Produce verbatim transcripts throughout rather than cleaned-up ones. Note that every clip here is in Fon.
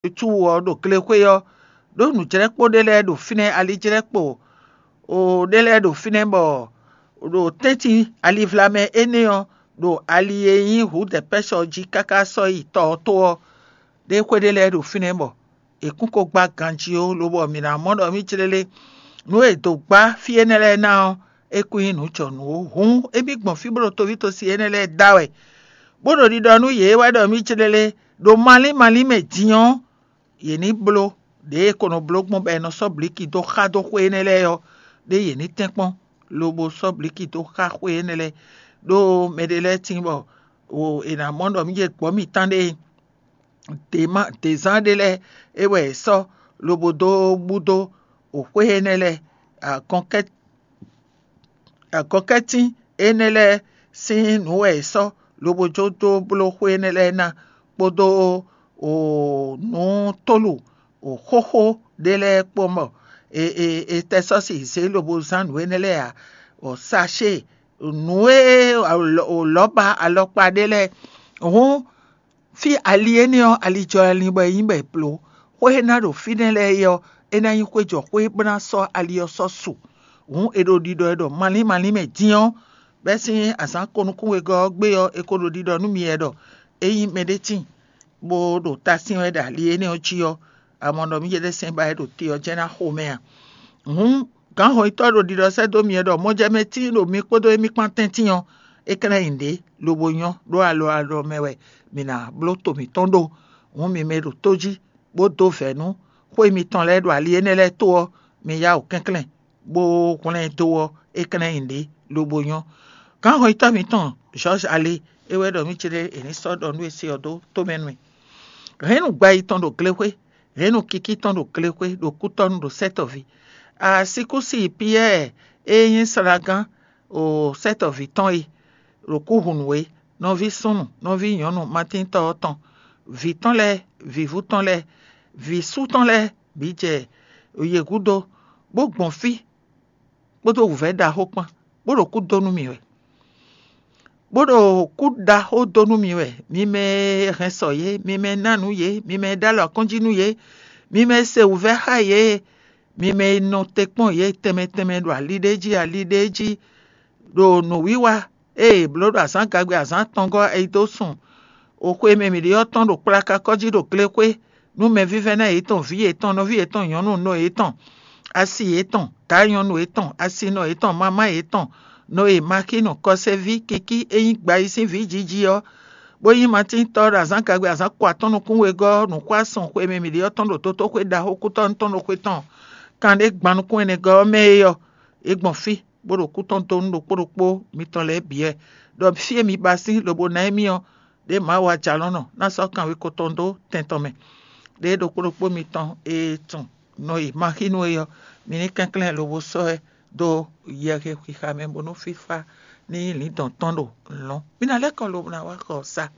Cu ɔ́ ɖo glexwé ɔ́, ɖó nǔjlɛ́kpo ɖé lɛ́ɛ ɖo fínɛ́, alijlɛ́kpo ɖé lɛ́ɛ ɖo fínɛ́, bɔ ɖo tɛ́ntin alivlamɛ énɛ́ ɔ́, ɖo ali e nyí Hǔdɛpɛ́sɔ jí káká sɔ́ yi tɔ ɔ́ tó ɔ́, ɖé xwé ɖé lɛ́ɛ ɖo fínɛ́, bɔ è kún ko gbá ganjí ó, lobɔ mǐ ná mɔ ɖɔ mǐ clélé nǔ e è dǒ gbá fí énɛ́ lɛ́ɛ ná ɔ́, é kún nyí nǔ jɔnǔ ó. Hǔn émí gbɔn fí bó ɖo toví tosi énɛ́ lɛ́ɛ da wɛ, bó ɖo ɖiɖɔ nú yě wɛ ɖɔ mǐ clélé ɖo malín malín mɛ din ɔ́, yě ní bló ɖěe è ko nɔ bló gbɔn bɔ è nɔ sɔ́ blǐki dó xá dó xwé énɛ́ lɛ́ɛ ɔ́, ɖé yě ní tɛ́nkpɔ́n, lobo sɔ́ blǐki dó xá xwé énɛ́ lɛ́ɛ, ɖó mɛɖé lɛ́ɛ tíin bɔ è nǎ mɔ ɖɔ mǐ jɛ gbɔ̌ mǐtɔn ɖe dězán ɖé lɛ́ɛ é wɛ è sɔ́ lobo dó bú dó xwé énɛ́ lɛ́ɛ agɔnkɛ́ agɔnkɛ́tín énɛ́ lɛ́ɛ sín nǔ wɛ è sɔ́ lobo jó dó bló xwé énɛ́ lɛ́ɛ ná, kpódó nǔ tólu xóxó ɖé lɛ́ɛ kpó mɔ è tɛ sɔ́ si zě lobo zán nǔ énɛ́ lɛ́ɛ ǎ. Sacée, nǔ e lɔ̌ba alɔkpa ɖé lɛ́ɛ. Hǔn fí ali énɛ́ ɔ́, ali jɔ ali bɔ è nyí bɔ è blǒ. Xwé e ná ɖo fínɛ́ lɛ́ɛ é ɔ́, é ná nyí xwé jɔ xwé bó ná sɔ́ ali ɔ́ sɔ́ su. Hǔn è ɖo ɖiɖɔ ɛ ɖɔ malín malín mɛ din ɔ́, bɛ́ sín azǎn ko nukún wegɔ́ ɔ́ gbé ɔ́, è ko ɖo ɖiɖɔ nú mi wɛ ɖɔ ényí mɛɖé tíin bó ɖo ta sín wɛ ɖo ali énɛ́ ɔ́ jí ɔ́, amɔ ɖɔ mǐ jɛ ɖɛ́ sɛn ba wɛ ɖo te ɔ́ jɛ́n ná xo mɛ a? Hǔn gǎnhɔnyitɔ́ ɖo ɖiɖɔ sɛ́ dó mi wɛ ɖɔ mɔjɛmɛ tíin ɖo mi kpódó émí kpán tɛ́ntin ɔ́, é ka ná nyi nǔɖé lobo nyɔ́ ɖó alɔ alɔ mɛ wɛ mǐ ná bló to mǐtɔn ɖó. Hǔn mi mɛ e ɖo tó jí bó dó vɛ̌ nú xwé mitɔn lɛ́ɛ ɖo ali énɛ́ lɛ́ɛ tó ɔ́, mi yá wǔ kɛnklɛ́n, bó hwlɛ́n ɛ dó ɔ́, é ka ná nyi nǔɖé lobo nyɔ́. Gǎnhɔnyitɔ́ mitɔn Jɔ́ɔ́zi Ali é wɛ ɖɔ mǐ céɖé è ní sɔ́ ɖɔ nú e se ɔ́ dó tómɛ nú mì. Hɛ̌nnu gba yi tɔn ɖo glexwé, hɛ̌nnu kikí tɔn ɖo glexwé ɖo kútɔ́nu ɖo sɛ́tɔ̌ví. Asíkúsi Piyɛ́ɛ e nyí slagán o sɛ́tɔ̌ví tɔn é, ɖo kú hun nǔ é, nɔví súnnu, nɔví nyɔ̌nu matíntɔ́ ɔ́ tɔn, vǐ tɔn lɛ́ɛ, vǐvú tɔn lɛ́ɛ, vǐ sú tɔn lɛ́ɛ bǐ jɛ yě gúdo, bó gbɔn fí, kpódó wǔvɛ́ ɖaxó kpán, bó ɖo kú dó nú mì wɛ. Bó ɖo kú ɖaxó dó nú mi wɛ, mi mɛ e hɛn sɔ yě, mi mɛ e ná nǔ yě, mi mɛ e ɖó alɔ akɔ́njí nú yě, mi mɛ e se wǔvɛ́ xá yě, mi mɛ e nɔ te kpɔ́n yě tɛnmɛ tɛnmɛ ɖo ali ɖé jí ali ɖé jí, ɖo nǔwiwa e è blǒ ɖo azǎngagbe azǎn atɔngɔ́ ɛ yi dó sun xwe e mɛ mǐ ɖe ɔ́ tɔn ɖo kplakakɔ́ jí ɖo glexwé, nú mɛvívɛ́ná yětɔn, vǐ yětɔn, nɔví yětɔn, nyɔ̌nu nɔ yětɔn, asi yětɔn, daá nyɔ̌nu yětɔn, asinɔ yětɔn, mamá yětɔn, nɔ e Maxínu kɔsɛví kikí e nyí gbayí sín vǐ jiji ɔ́, bó nyí matíntɔ́ ɖo azǎngagbe azǎn ko atɔ́ɔ́n nukún wegɔ́ nǔxwá sun xwe e mɛ mǐ ɖe ɔ́ tɔn ɖo dotóxwé ɖaxó kútɔ́nú tɔn ɖo xwe tɔn kan ɖé gban nukún ɛnɛgɔ́ ɔ́ mɛ é ɔ́, é gbɔn fí, bó ɖo kú tɔn dó nú ɖokpó ɖokpó mitɔn lɛ́ɛ bǐ wɛ, ɖɔ fí e mi ba sín lobo ná émí ɔ́, ɖěe Mawu ajalɔ̌nlɔn ná sɔ́ kanwekó tɔn dó tɛn tɔn mɛ. Ɖěe ɖokpó ɖokpó mitɔn e tunwun nɔ e Maxínu é ɔ́, mi ní kɛnklɛ́n lobo sɔ́ ɛ dó yɛhwe xixa mɛ, bónú fífá ní nyí lǐndɔ̌n tɔn ɖo lɔ̌n. Mi ná lɛ́ kɔ lobo ná wá xɔ sa.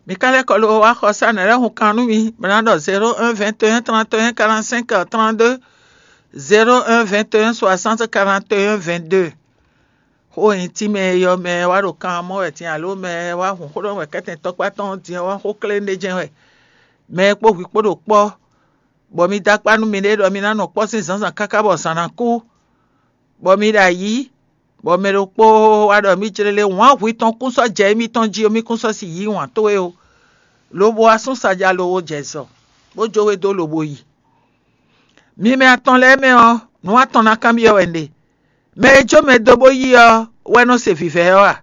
Mi ka lɛ́ kɔ lobo wá xɔ sa nɛ̌ lɛ́ hun kan nú mi, bó ná ɖɔ zéro un vingt et un trente et un quarante-cinq trente-deux, zéro un vingt et un soixante quarante et un vingt-deux. Xó e nyí tínmɛ e yɔ mɛ wá ɖo kan mɔ wɛ din alo mɛ wá hun xó ɖɔ wɛ kɛ́tɛn tɔkpá tɔn din ɔ́ wá xó klé ɖé jɛ́n wɛ. Mɛ e kpó hwi kpó ɖo kpɔ́, bɔ mi dó akpá nú miɖée ɖɔ mi ná nɔ kpɔ́ sín zǎnzǎn káká bɔ zǎn ná kú, bɔ mi ɖo ayǐ, bɔ mɛ ɖokpó wá ɖɔ mǐ clélé wǎn hwi tɔn kún sɔ́ jɛ émítɔn jí ó, mí kún sɔ́ si yí wǎn towe ó, lobo wá sún saja lobo jɛ zɔ, bó jó we dó lobo yi. Mi mɛ atɔn lɛ́ɛ mɛ ɔ́, nǔ atɔn ná kanbyɔ́ wɛ un ɖe. Mɛ e jó mɛ dó bó yí ɔ́ wɛ nɔ se vǐvɛ́ ɔ́ a?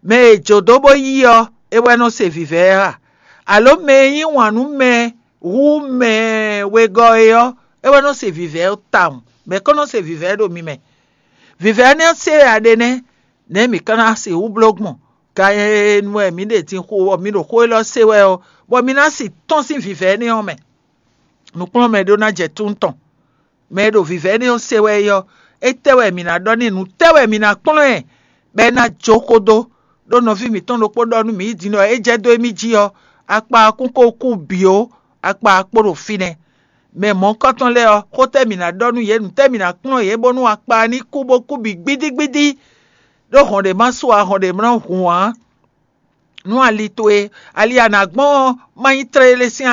Mɛ e jǒ dó bó yí ɔ́, é wɛ nɔ se vǐvɛ́ ɔ́ a? Alo mɛ e yí wǎn nú mɛ hú mɛ wegɔ́ é ɔ́, é wɛ nɔ se vǐvɛ́ ɔ́ tawun? Mɛ̌ kɔn nɔ se vǐvɛ́ ɖo mi mɛ? Vǐvɛ́ énɛ́ se wɛ a ɖe nɛ́, nɛ̌ mǐ ka ná sixú bló gbɔn? Gan e nu wɛ mǐ ɖe din xo bɔ mi ɖo xó élɔ́ se wɛ ɔ́, bɔ mi ná si tɔ́n sín vǐvɛ́ énɛ́ ɔ́ mɛ. Nǔkplɔ́nmɛ ɖó ná jɛ tún tɔn. Mɛ e ɖo vǐvɛ́ énɛ́ ɔ́ se wɛ é ɔ́, étɛ́ wɛ mǐ ná ɖɔ n'i? Nǔtɛ́ wɛ mi ná kplɔ́n ɛ, bɔ é ná jó xó dó? Ɖó nɔví mǐtɔn ɖokpó ɖɔ nú mǐ yi din ɖɔ é jɛ dó émí jí ɔ́, akpa ɔ́ kún ko kú bǐ ó, akpa ɔ́ kpo ɖo fínɛ́. Mɛ mɔ̌hunkɔtɔn lɛ́ɛ ɔ́, xó tɛ́ mǐ ná ɖɔ nú yě? Nǔtɛ́ mǐ ná kplɔ́n yě bónú akpa ɔ́ ní kú bó kú bǐ gbídígbídí? Ɖó hɔn ɖě ma su ǎ, hɔn ɖě ma hun ǎ. nú ali towe. Ali e a nǎ gbɔn ɔ́, má nyí tlélé sín